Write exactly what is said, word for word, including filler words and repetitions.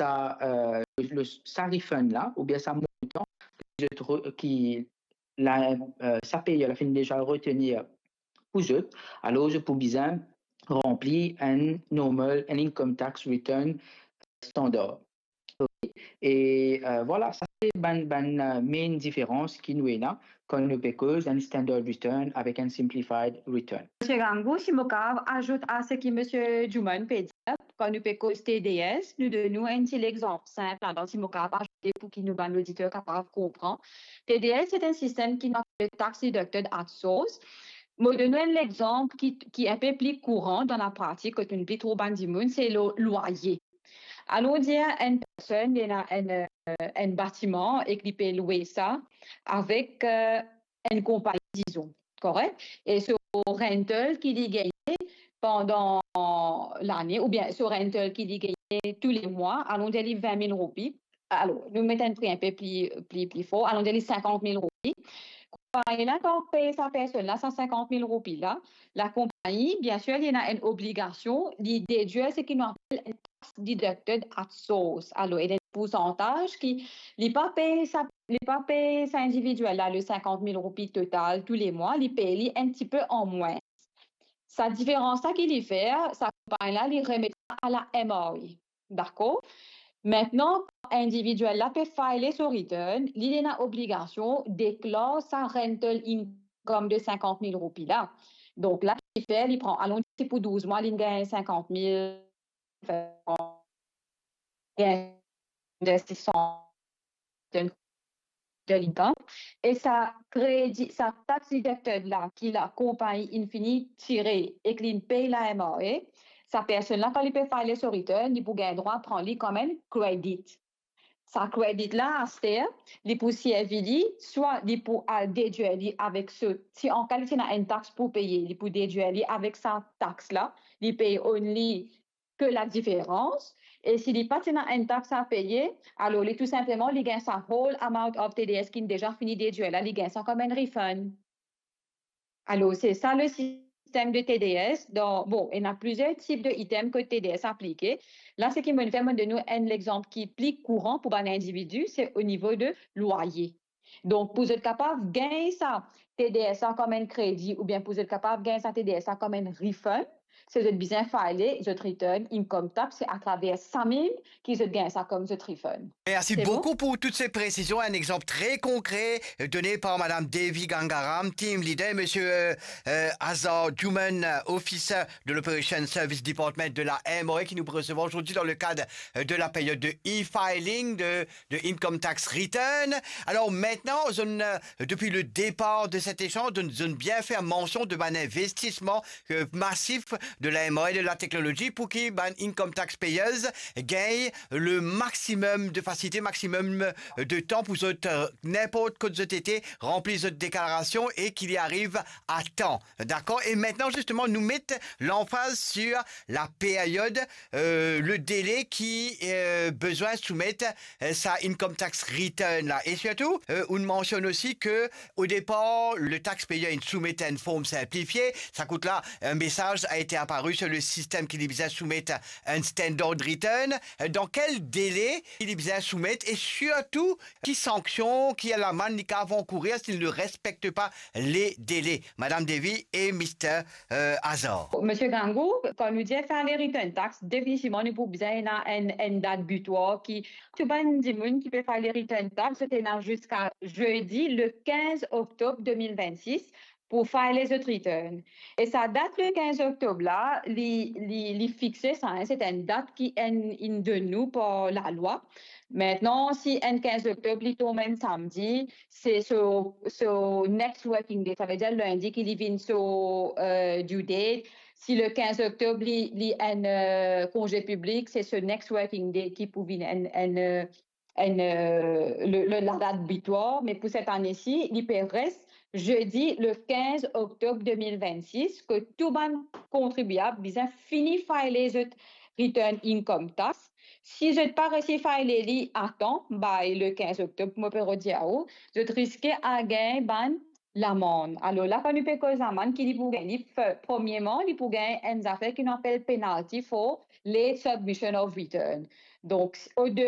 sa, euh, le, sa refund la, oubien sa montan ki zot re-, ki la, euh, sa peyer la finn deza retenir pou zot, alor zot pou bizin ranpli enn normal, enn income tax return standard. Ok? E, euh, vwala, sa se bann, bann, euh, main diferans ki nou ena kan nou pe koz enn standard return avek enn simplified return. Misie Gangou, si mo kapav azout a seki Misie Juman pe dir, kan nou pe koz T D S, nou donn nou enn ti lexanp sinp ladan, si mo kapav azoute pou ki nou bann oditer kapav konpran. T D S se enn sistem ki nou apel tax deducted at source. Mo donn nou enn lexanp ki, ki enpe pli kouran dan lapratik, kot nou pli trouv bann dimoun, se lo-, lwaye. Alon dir enn personn, li ena enn, euh, enn batiman ek li pe lwe sa avek, euh, enn konpagni, dizon, korek? E so rental ki li gagne pandan lane, oubien so rental ki li gagne tou le mwa, alon dir li vin mil roupi. Alor, nou met enn pri enpe pli, pli, pli for, alon dir li sinkant mil roupi. Konpagni la, kan pey sa personn la sa sinkant mil roupi la, lakonpagni, biensir, li ena enn obligasion, li dedir seki nou apel enn tax deducted at source. Alor, ena enn poursantaz ki li pa pey sa, li pa pey sa individiel la le sinkant mil roupi total tou le mwa, li pey li enn tipe an mwins. Sa diferans la ki li fer, sa konpagni la, li remet sa a la M R A. Dakor? Aster, kan individiel la pe file so return, li, li ena obligasion deklar sa rental income de sinkant mil roupi la. Donk la, ki li fer, li pran, alon dir pou douz mwa, li gagn sinkant mil, gagn sis san de income, e sa kredi, sa tax deducted la ki lakonpagni inn fini tire ek li inn pey la M R A, sa personn la, kan li pe file so return, li pou gagn drwa pran li kouma enn credit. Sa credit la, aster, li pou servi li, swa li pou al dedir li avek so, si an ka li ti ena enn tax pou peye, li pou dedir li avek sa tax la, li pey only ke ladiferans, e si li pa ti ena enn tax a peye, alor li tou sinpleman, li gagn sa whole amount of T D S ki inn deza fini dedir la, li gagn sa kouma enn refund. Alor, se sa le sistem de T D S. Donk, bon, ena plizier tip de item kot T D S aplike. La, seki mo'nn fer, mo'nn donn nou enn lexanp ki pli kouran pou bann individi, se o nivo de lwaye. Donk, pou zot kapav gagn sa T D S la kouma enn kredi oubien pou zot kapav gagn sa T D S la kouma enn refund, se zot bizin file zot return income tax, se atraver sa mem ki zot gagn sa kouma zot refund. Merci beaucoup pour toutes ces précisions. Un exemple très concret, euh, donné par Madame Devi Gangaram, team leader, et Monsieur, euh, euh, Azar Juman, euh, officer de l'Operation Service Department de la M R A, qui nous recevra aujourd'hui dans le cadre, euh, de la période de e-filing, de, de income tax return. Alors maintenant, zot, euh, depuis le départ de cet échange, zot, zot bien fer mansion de bann investisman, euh, masif de la M R A et de la technologie pour ki bann income tax payers gagne le maximum de facilité, maximum, euh, de temps pour zot, euh, ninport kot zot ete, ranpli zot deklarasion e ki li ariv a tan. Dakor? Et maintenant, justement, nou met lanfaz sur la période, euh, le délai ki, euh, bizin soumet, euh, sa income tax return la. Et surtout, euh, ou mansionn osi ke au départ, le tax payer inn soumet enn form sinplifie. Sa kout la, un message a été apparu sur le système ki li bizin soumet un standard return. Euh, dans quel délai ki li bizin soumet et surtout, ki sanksion, ki lamann li kapav ankourir s'il ne respecte pas les délais? Madame Devi et Mister, euh, Azar. Misie Gangou, kan nou dir file return tax, definitivman nou pou bizin ena enn, enn dat bitwar ki tou bann dimoun ki pe file return tax, zot ena ziska zedi le kinz oktob de mil vennsis pou file zot return. E sa dat le kinz oktob la, li, li, li fixe sa, hein, se enn dat ki enn, inn donn nou par lalwa. Aster, si enn kinz oktob li tonm enn samdi, se so, so next working day, savedir lindi ki li vinn so, euh, due date. Si le kinz oktob li, li enn, euh, konze piblik, se so next working day ki pou vinn enn, enn, euh, enn, euh, le, le, ladat bitwar, me pou set ane si, li pe res zedi le kinz oktob de mil vennsis, ke tou bann kontribiab bizin fini file zot return income tax. Si zot pa resi file li a tan, by le kinz oktob, mo pe redir ou, zot riske a gagn bann lamann. Alor la, kan nou pe koz lamann, ki li pou gagn? Li, fe-, premierman, li pou gagn enn zafer ki nou apel penalty for late submission of return. Donc, au